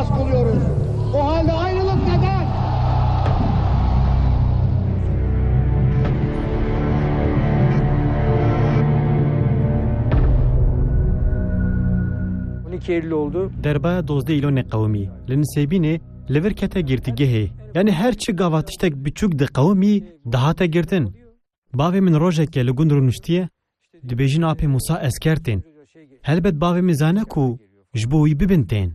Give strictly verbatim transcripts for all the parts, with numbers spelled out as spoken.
Kılıyoruz. O halde ayrılık neden? On iki Eylül oldu. Derba dozdeh Îlonê qewimî. Li Nisêbînê li vir kete girtîgehê. Yani her çi gava tiştek biçûk diqewimî, dihate girtin. Bavê min rojeke li gund rûniştiye, dibêjin apê Musa esker tên. Helbet bavê min zane ku ji bo wî bibin tên.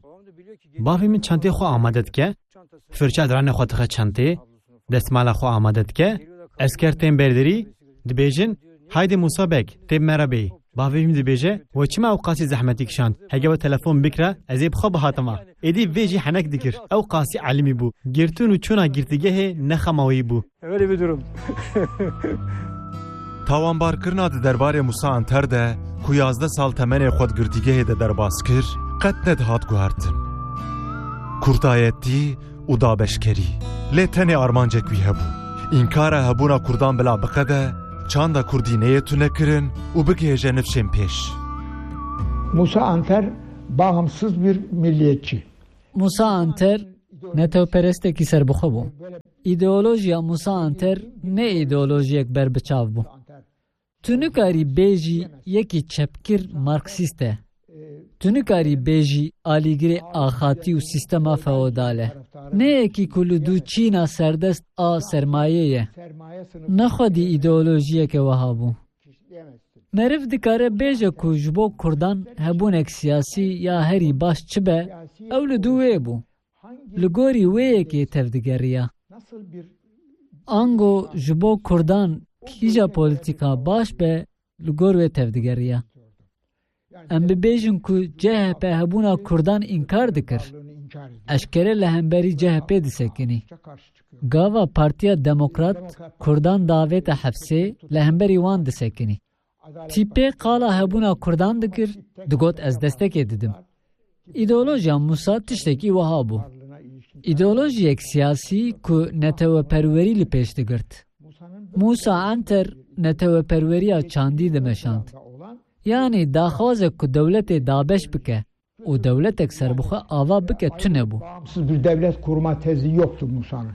Bavê min çentê xwe amade dike, firça diranê xwe dixe çentê, destmala xwe amade dike, esker tên berdirî, dibêjin, "Haydê Musa Beg, tê bi me re bêyî." Bavê min dibêje, "We çima ew qasî zehmetî kişand? Hege we telefon bikira, ez ê bi xwe bihatima." Êdî vê jî henek dikir. Ew qasî elimî bû. Girtin û çûna girtîgehê ne xema wî bû. Öyle bir durum. Tawanbarkirina di derbarê Musa Anter de ku yazdeh sal temenê xwe di girtîgehê de derbas kir, qet nedihat guhertin. Kurdayetî û dabeşkerî. Lê tenê armancek wî hebû. Înkara hebûna Kurdan bila biqede, çanda Kurdî neyê tunekirin û bigihêje nifşên pêş. Musa Anter bağımsız bir milliyetçi. Musa Anter netewperestekî serbixwe bû. Îdeolojiya Musa Anter ne îdeolojiyek berbiçav bû. Tu nikarî bêjî yekî çepgir marksîst e. Tu nikarî bêjî alîgirê axatî û sîstema feodal e. Ne yekî ku li dû çîna serdest a sermayê ye. Ne xwedî îdeolojiyeke wiha bû. Meriv dikare bêje ku ji bo Kurdan hebûnek siyasî ya herî baş çi be, ew li dû wê bû. Li gorî wê yekê tevdigeriya. Ango ji bo Kurdan kîja polîtîka baş be, li gor wê tevdigeriya. Em bibêjin ku C H P hebûna Kurdan înkar dikir. Eşkere li hemberî C H P disekinî. Gava Partiya Demokrat Kurdan davête hefsê, li hemberî wan disekinî. Tîpê qala hebûna Kurdan dikir, digot, "Ez destekê didim." Îdeolojiya Musa tiştekî wiha bû. Îdeolojiyek siyasî ku neteweperwerî li pêş digirt. Musa Anter neteweperweriya çandî dimeşand. Yanî daxwazek ku dewletê dabeş bike û dewletek serbixwe ava bike tune bû. Bağımsız bir devlet kurma tezi yoktu Musa'nın.